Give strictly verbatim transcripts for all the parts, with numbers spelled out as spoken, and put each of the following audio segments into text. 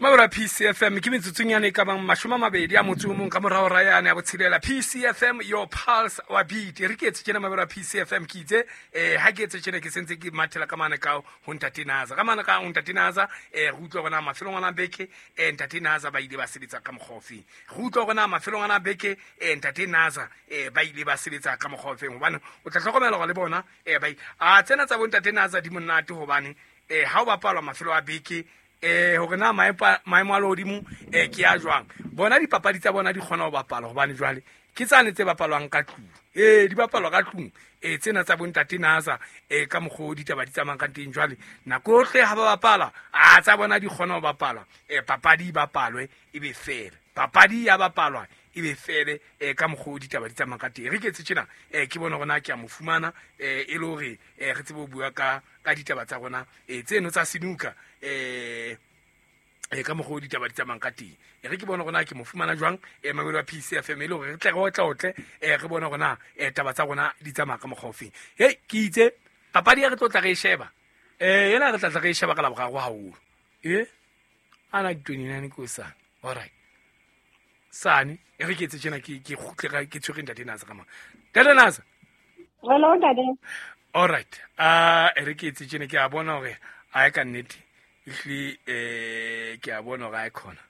Mabura P C F M ke metsotsong yane ka bang mashome a mabedi a motso o mong ka morao ra yane ya botshelela. P C F M your pulse wa beat. Re ke etse tjena mabura P C F M ke itse eh ha ke etse tjena ke sentse ke mathela ka mane ka ho Ntate Naza. Ka mane ka ho Ntate Naza eh re utlwa bona mafelong ana beke eh Ntate Naza ba ile ba sebetsa ka mokgwa ofeng. Re utlwa bona mafelong ana beke eh Ntate Naza eh ba ile ba sebetsa ka mokgwa ofeng hobane o tla hlokomela hore le bona eh ba a tsena tsa bo Ntate Naza di monate hobane eh ha o bapalwa mafelo a beke eh hore na maemo a lehodimo eh ke a jwang bona dipapadi tsa bona di kgona ho bapala hobane jwale ke tsane tse bapalwang ka tlung eh di bapalwa ka tlung eh tsena tsa bo Ntate Naza eh ka mokgwa ditaba di tsamayang ka teng jwale nako yohle ha ba bapala a tsa bona di kgona ho bapala eh papadi e bapalwe e be fele papadi ya bapalwa e be fele eh ka mokgwa ditaba di tsamayang ka teng re ke etse tjena eh ke bona hore na ke a mo fumana eh e le hore eh re tsebe ho bua ka ka ditaba tsa rona eh tseno tsa senuka eh eh ka mokgwa ditaba di tsamayang ka teng e re ke bona hore na ke mo fumana jwang eh mamelo wa P C F M e le hore re tle re otla otle eh re bona hore na eh taba tsa rona di tsamaya ka mokgwa ofeng. Hei ke itse papadi ya re tlo tla re e sheba eh yena re tla tla re e sheba ka laboraro haholo eh ana di twenty-nine ko sa all right sane e re ke etse tjena ke ke kgutle ke tshwere Ntate Naza ka mona. Ntate Naza. Hello Ntate. All right ah e re ke etse tjena ke a bona hore a ka nnete ehle eh ke a bona hore a khona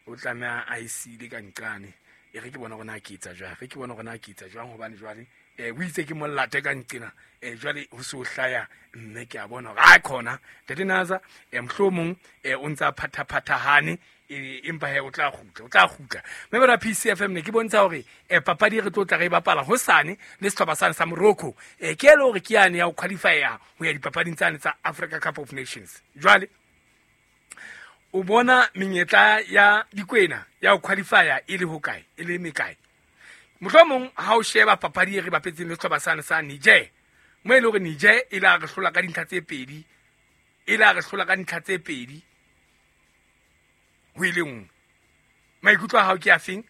o tlameha a isile ka nqane e re ke bona hore na ke etsa jwang re ke bona hore na ke etsa jwang hobane jwale eh o itse ke mollate ka nqena eh jwale ho se o hlaya mme ke a bona hore a khona Ntate Naza eh mohlomong eh o ntsa phathaphathahane empa he o tla kgutla o tla kgutla mme bona P C F M ne ke bontsha hore eh papadi re tlo tla re bapala hosane le sehlopha sane sa Morocco eh ke le hore ke yane ya ho qualify ho ya dipapading tsane tsa Africa Cup of Nations. Jwale o bona menyetla ya dikwena ya ho qualify e le hokae e le mekae mohlomong ha o sheba papadi e re bapetseng le sehlopha sane sa Niger mo e le hore Niger e la re hlola ka dintlha tse pedi e la re hlola ka dintlha tse pedi ho ile nngwe maikutlo a hao ke a feng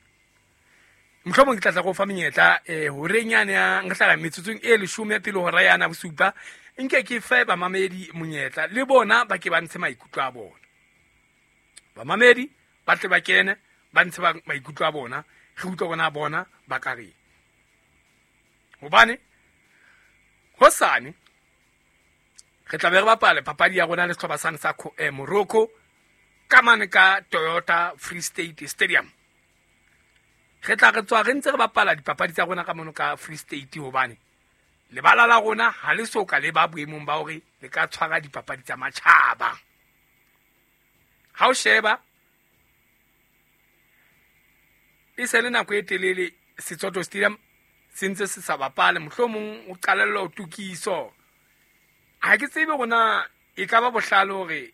mohlomong ke tla tla go fa menyetla eh horeng yane ya nka tla metsotsong e leshome pele hora yana bosupa nke ke fe bamamedi monyetla le bona ba ke ba ntshe maikutlo a bona bamamedi ba tle ba kene ba ntshe maikutlo a bona re utlwe bona bona ba ka reng hobane hosane re tla be re bapale papadi ya rona le sehlopha sane sa eh, Morocco ka mane ka Toyota Free State Stadium. Re tla re tswa re ntse re bapala dipapadi tsa rona ka mono ka Free State hobane lebala la rona ha le soka le ba boemong ba hore le ka tshwara dipapadi tsa matjhaba. Ha o sheba e se le nako e telele Setsoto Stadium se ntse se sa bapale mohlomong o qalella ho tokiso. Ha ke tsebe rona e ka ba bohlale hore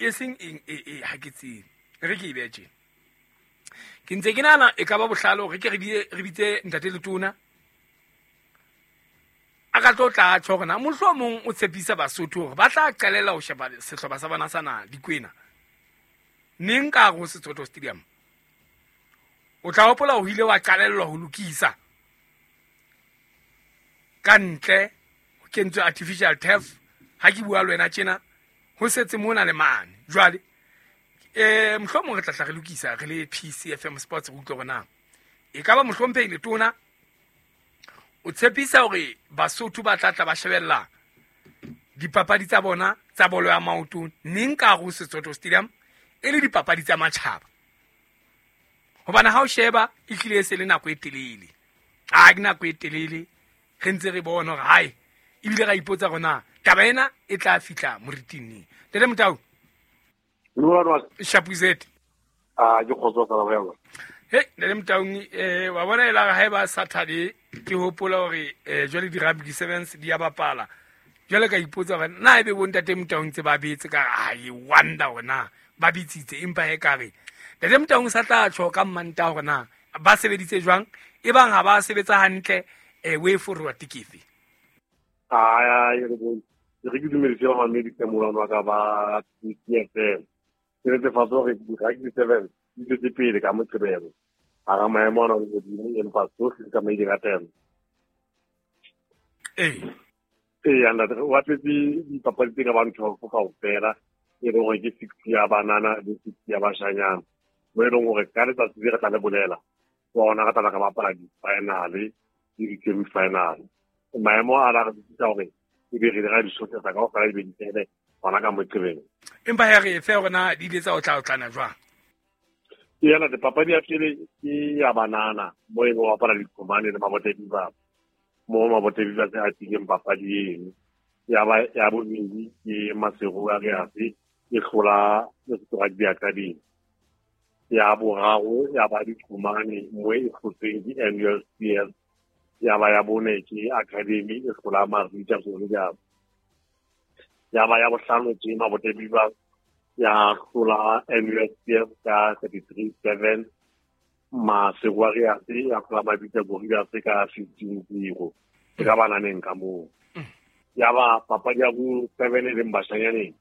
e seng eng e e ha ke tsebe re ke e tjena ke ntse ke nana e ka ba bohlale hore ke re re bitse Ntate Letona a ka tlo tla tjho hore na mohlomong o tshepisa Basotho hore ba tla qalela ho sheba sehlopha sa bona sa na dikwena neng ka ho Setsoto Stadium. O tla hopola ho ile wa qalellwa ho lokisa ka ntle ho kentswe artificial turf ha ke bua le wena tjena ho setse mona le mane jwale eh mohlomong re tla tla re lokisa re le P C F M Sports re utlwe hore na e ka ba mohlomphehi Letona o tshepisa hore Basotho ba tla tla ba shebella dipapadi tsa bona tsa bolo ya maoto neng ka ho Setsoto Stadium e le dipapadi tsa matjhaba hobane ha o sheba e hlile e se le nako e telele a ke nako e telele re ntse re bona hore hai ebile ra ipotsa hore na taba ena e tla fihla moriting neng. Ntate Motau Shapuzet ah ke kgotso ka ba hey Ntate Motau eh wa bona e la ha ba Saturday ke hopola hore eh jwale di rugby sevens di ya bapala jwale ka ipotsa hore na ebe bo Ntate Motau ntse ba betse ka ai wonder hore na ba bitsitse empa he ka re Ntate Motau sa tla tjho ka mmanta hore na ba sebeditse jwang e bang ha ba sebetsa hantle eh way forward ke efe. Ah re bo re ke dumedise ba mamedi ka molano wa ka ba P C F M ke netefatsa hore di-rugby sevens di tswetse pele ka Moqebelo hara maemo ana a lehodimo empa tsohle di tsamaile ka temo. Ee ee ntate o bapetse dipapadi tse ka bang twelve kaofela E leng gore ke six ya banana le six ya bashanyana. Mo e leng gore ka letsatsi le re tla le bolela, wa ona re tla re bapala di-final-e le di-semi-final. Maemo a la re tsisa hore e be re dira di-shot tsa kaofela di be di fele hona ka Moqebelo. Empa he re fe hore na di ile tsa o tla o tlana jwang? Ke yana papadi ya pele ke ya banana mo e leng ho bapala diqhomane le Mabote Beavers. Mo Mabote Beavers a tileng papadi eno. Ya ba ya bobedi ke Maseru Warriors e hlola Lesotho Rugby Academy. Ya boraro ya ba diqhomane mo e hlotsweng ke N U S P S. Ya ba ya bone ke Academy e hlola Marita Soldiers. Ya ba ya bohlano ke Mabote Beavers ya hlola N U S P S ka thirty-three seven. Maseru Warriors ya hlola Mabitja Warriors ka fifteen zero. E ka bananeng ka moo. Ya ba papadi ya bo seven e leng bashanyaneng.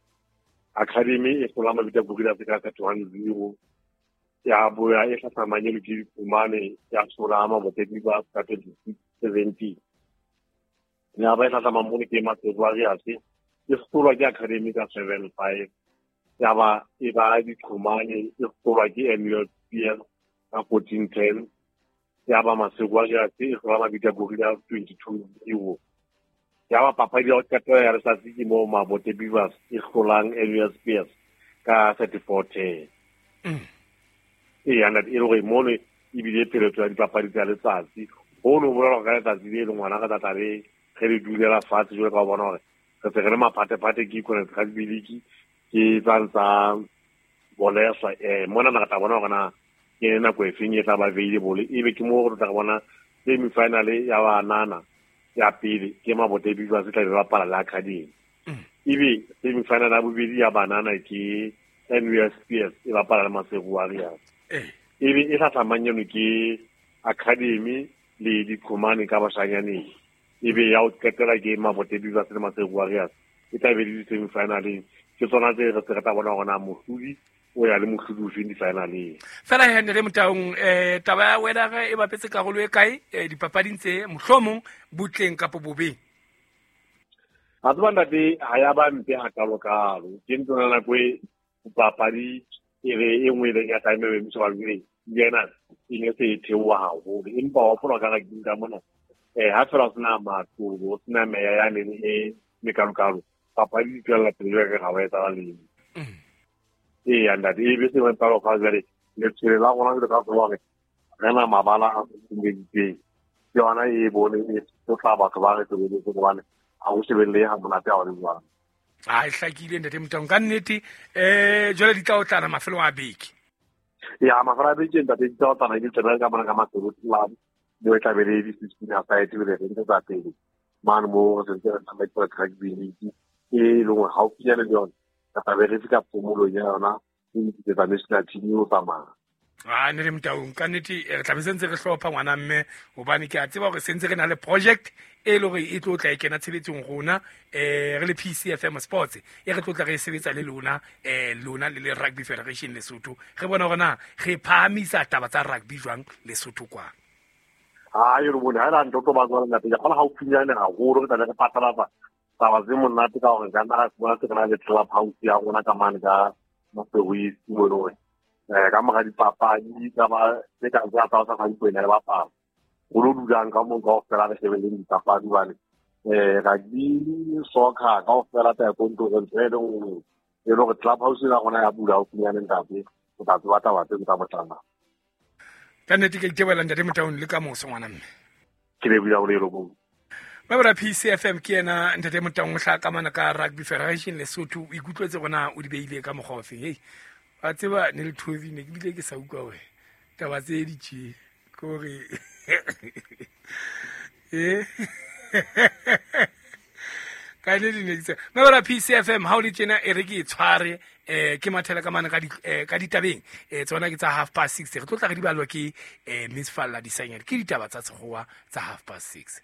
Academy e hlola Mabitja Warriors ka thirty-one zero. Ya boya e hlahlamang eno ke Diqhomane ya hlola Mabote Beavers ka twenty-six seventeen. Ya ba e hlahlamang mono ke Maseru Warriors e hlolwa ke Academy ka seven five. Ya ba e ba Diqhomane e hlolwa ke N U S P S ka fourteen ten. Ya ba Maseru Warriors e hlola Mabitja Warriors twenty-two zero. Ya ba papadi ya ho qetela ya letsatsi ke moo Mabote Beavers e hlolang N U S P S ka thirty-four ten. Ee, e le gore mono ebile pheletso ya dipapadi tsa letsatsi. Hono ho bolela hore ka letsatsi le leng ngwana re tla tla re ge re dulela fatshe jwalo ka ho bona hore re se re le maphatephate ke Econet Rugby League ke tsang tsa boleswa. Eh, mona re tla bona hore na ke nako e feng e tla ba available. Ebe ke moo re tla bona semi-final ya banana ya pele ke Mabote Beavers e tla be bapala le Academy. Ebe semi-final ya bobedi ya banana ke N U S P S e bapala le Maseru Warriors. Ebe e hlahlamang eno ke Academy le Diqhomane ka bashanyaneng. Ebe ya ho qetela ke Mabote Beavers le Maseru Warriors e tla be le di-semi-finaleng. Ke tsona tse re se re tla bona hore na mohlodi o ya le mohlodi ofeng di-finaleng. Fela he Ntate Motaung, eh taba ya weather e bapetse karolo e kae dipapading tse mohlomong butleng kapo bobeng? Ha tseba ntate, ha ya ba mpe hakalo-kalo. Ke ntho ya nako e papadi e re e nngwe e leng ya time e emiswa jwale, yena e ne se e theoha haholo. Empa wa hopola ka rugby ka mona, eh ha fela ho sena matlo, ho sena meya yane e mekalokalo, papadi di tswella pele jwalo ka ha ho etsahala letho. Ee, ntate, e be se ba ka jwale letshwele la rona jwalo ka tseba hore re na mabala a futhumeditseng. Ke yona e bone e tla batho ba re sebeletse hobane ha ho shebellehe ha monate ha ho le jwalo. A e hlakile Ntate Motaung ka nnete. Eh jwale di tla o tlana mafelong a beke. Ya mafelo a beke ntate di tla o tlana di tsena ka mona ka Maseru Club mo e tla be le di-sixteen aside le re ntse tsa pele mane mo re sentse re tsamaisa rugby league e leng hore haufinyane le yona re tla be re fihla phomolong ya yona e ntse national team o tsamaya. Ah, Ntate Motaung ka nnete re tla be sentse re hlopha ngwana mme hobane ke a tseba hore sentse re na le project e le hore e tlo tla e kena tshebetsong rona eh re le P C F M Sports e re tlo tla re sebetsa le lona eh lona le le Rugby Federation Lesotho re bona hore na re phahamisa taba tsa rugby jwang Lesotho kwa. Ah, e re bone ha la ntho tlo ba tswala ntate ke kgona haufinyane haholo re tla re phatlalatsa taba tse monate ka hore ka nna ra se re na le club house ya rona ka mane ka Maseru East mo e leng hore eh ka mora dipapadi tsa ba tse ka tsa tsa tsa dikwena le bapala go lo dulang ka moo kaofela re shebeleng dipapadi hobane eh rugby soccer kaofela taekwondo ntho e leng nngwe e le hore club house ya rona ya bula haufinyane ntate o tla tseba taba tse tsa botlana. Ka nnete ke itebohela Ntate Motaung le ka moso ngwana mme. Ke lebohile haholo e le mong. Mabra P C F M ke yena Ntate Motaung o hlaha ka mona ka Rugby Federation Lesotho. O ikutlwetse hore na o di beile ka mokgwa ofe. Hei, wa tseba ne le thobi ne ke bile ke sa utlwa hore taba tse di tje ke hore eh ka le di ne ke Mabra P C F M ha o le tjena e re ke e tshware eh ke mathela ka mane ka di ka ditabeng eh tsona ke tsa half past six re tlo tla re di balwa ke eh Miss Falla Disanyane ke ditaba tsa Sekgowa tsa half past six.